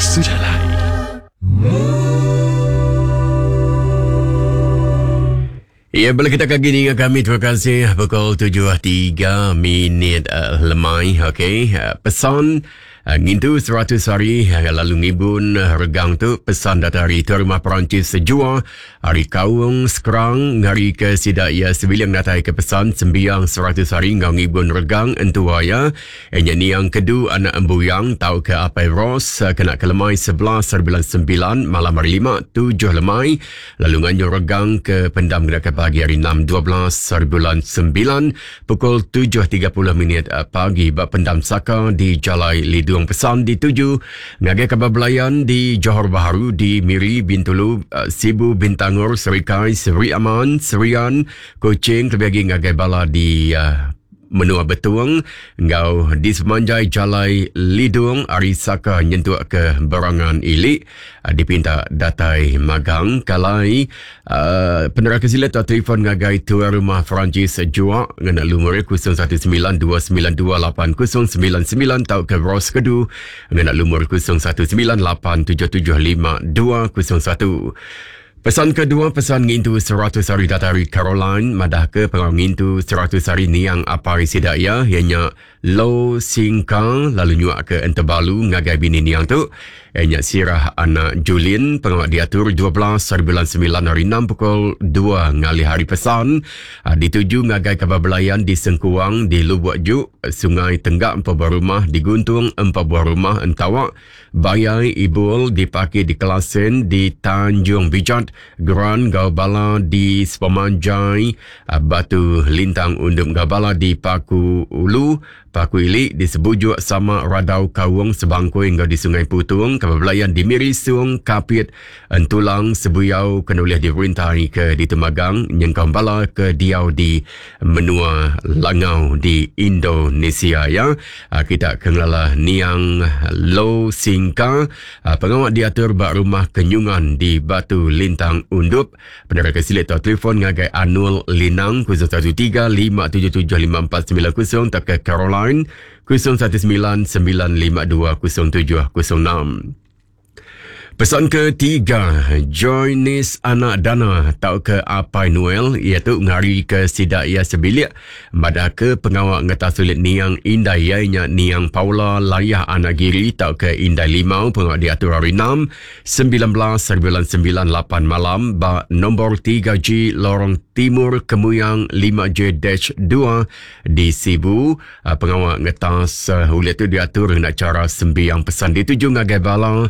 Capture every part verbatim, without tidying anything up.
Sejalai. Ya, boleh kita kaki ninga kami. Terima kasih. Pukul tujuh tiga minit uh, lemai. Okey, uh, pesan uh, ngintu seratus hari uh, lalu ngibun uh, regang tu pesan datari tu rumah Perancis sejua hari kaung sekerang ngari ke sidak ya sebilang datai ke pesan sembiang seratus hari ngau ngibun regang entua ya enya niang kedu anak embuyang tau ke apai Ros uh, kena ke lemai sebelas bulan sembilan malam hari lima tujuh lemai lalu nganjur regang ke pendam kena ke pagi hari enam dua belas bulan sembilan pukul tujuh tiga puluh minit pagi bak pendam Saka di Jalai Lidung. Pesan dituju ngagai kabar belayan di Johor Bahru, di Miri, Bintulu, Sibu, Bintangor, Serikai, Seri Aman, Serian, Kuching, terlebih lagi ngagai bala di uh, Menua Betung, ngau di semanjai Jalai Lidung, Ari Saka nyentuk ke Berangan Ilik, dipinta datai magang kalai uh, penerang kesilat atau telefon ngagai tuan rumah Perancis Jua ngena lumur kosong satu sembilan dua sembilan dua lapan kosong sembilan sembilan tau ke Ros Kedu ngena lumur kosong satu sembilan lapan tujuh tujuh lima dua kosong satu. Pesan kedua, pesan ngintu seratus hari datari Caroline, madah ke pengawal ngintu seratus hari niang apari sidaya, ianya Lo Singkang, lalu nyuak ke Entebalu ngagai bini niang tu, ianya Sirah anak Julin, pengawal diatur dua belas hari bulan sembilan hari enam pukul dua ngalih hari pesan, dituju ngagai kabar belayan di Sengkuang, di Lubuk Juk, Sungai Tenggak empat buah rumah, di Guntung empat buah rumah, Entawak, Bayai, Ibul, dipaki di Kelasen, di Tanjung Bijat, Geran Gaubala di Sepemanjai, Batu Lintang Undum Gaubala di Paku Ulu, Paku Ilik di Sebujuk sama Radau Kawung Sebangkui hingga di Sungai Putung, Kababelayan di Miri Sung, Kapit, Entulang, Sebuyau, Kenulih di Rintai ke di Temagang, Nyengkam Bala ke Diau di Menua Langau di Indonesia ya. Kita kenallah Niang Lo Singka, pengawal diatur bak rumah Kenyungan di Batu Lintang Undup. Penerang kesilit atau telefon ngagai Anul Linang kosong satu tiga lima tujuh tujuh lima empat sembilan kosong atau ke Caroline kosong satu sembilan sembilan lima dua kosong tujuh kosong enam. Pesan ketiga, Joinis anak dana tau ke Apai Noel iaitu ngari ke sidak ia sebilik pada ke pengawal ngetas sulit niang indai ianya niang Paula Layah anak Giri tau ke Indai Limau pengawal diatur hari enam sembilan belas bulan sembilan lapan malam ba nombor tiga G Lorong Timur Kemuyang lima J dua di Sibu. Pengawal ngetas ulit tu diatur dengan cara sembiang pesan dituju ngagai bala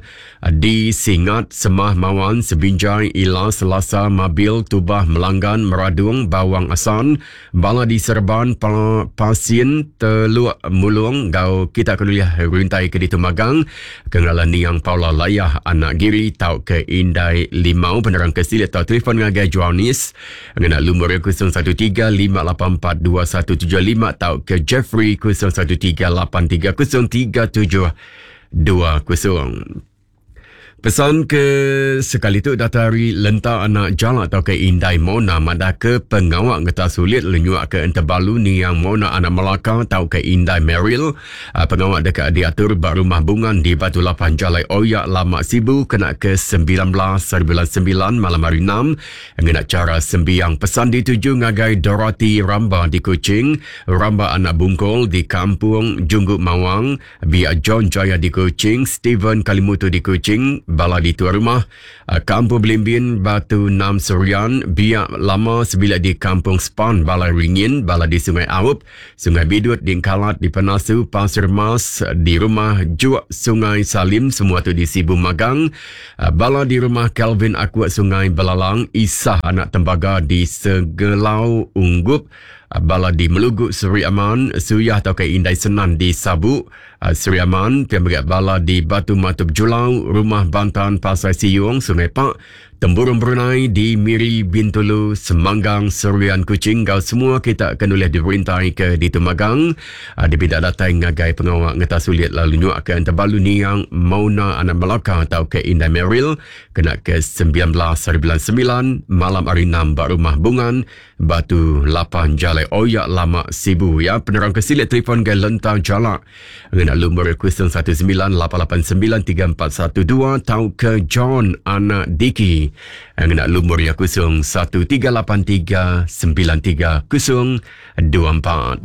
di Singat, Semah, Mawan, Sebinjai, Ila, Selasa, Mabil, Tubah, Melanggan, Meradung, Bawang Asan, Bala di Serban, pa, Pasien, Teluk Mulung, Gau kita kuliah rintai ke di Temagang, Kengalan Niang Paula Layah, Anak Giri, Tau ke Indai Limau, penerang ke silit atau telefon ngagai Joanis, ngena lumur kosong satu tiga lima lapan empat dua satu tujuh lima, tau ke Jeffrey kosong satu tiga lapan tiga kosong tiga tujuh dua kosong. Pesan ke sekali tu datari Lenta anak Jalak atau ke Indai Mona madah ke pengawak ngetas sulit lenyuak ke Entebalu Niang Mona anak Melaka atau ke Indai Meril. Pengawak dekat diatur bak rumah bungan di Batu Lapan Jalai Oyak Lama Sibu kena ke sembilan belas bulan sembilan malam hari enam ngena cara sembiang pesan dituju ngagai Dorothy Ramba di Kuching, Ramba anak Bungkol di Kampung Jungguk Mawang, Biak John Jaya di Kuching, Stephen Kalimutu di Kuching, Bala di tuan rumah Kampung Belimbin Batu Nam Serian, Biak Lama sebilik di Kampung Span Balai Ringin, Bala di Sungai Aup, Sungai Bidut di Engkalat di Penasu, Pasir Mas di rumah Juak Sungai Salim, semua tu di Sibu Magang, Bala di rumah Calvin Akuat Sungai Belalang, Isah anak Tembaga di Segelau Unggup, Bala di Melugut Seri Aman, Suyah atau ke Indai Senan di Sabu Seri Aman, Pian Bala di Batu Matup Julau, Rumah Bantan Pasai Siung, Sungai Pak, Temburong Brunei di Miri, Bintulu, Semanggang, Serian, Kuching kau semua kita akan oleh diberintai ke di Tumagang. Uh, dibida datai ngagai pengawak ngetas sulit lalu nyuak ke Entebalu Niang Mauna Anak Melaka atau ke Indai Meril kena ke sembilan belas hari bulan sembilan malam hari enam ba rumah Bungan Batu lapan Jalai Oyak Lama Sibu ya. Penerang ke silik telefon ke Lentang Jalak ngena lumur kosong satu sembilan lapan lapan sembilan tiga empat satu dua tau ke John Anak Diki ngena lumur ya kosong satu tiga lapan tiga sembilan tiga kosong dua empat.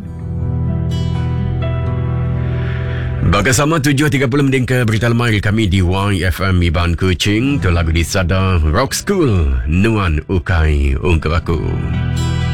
Bersama tujuh tiga puluh mending ke berita lemai kami di Y F M Iban Kuching. Tu lagu di Sada Rock School, Nuan Ukai Ungkup Aku.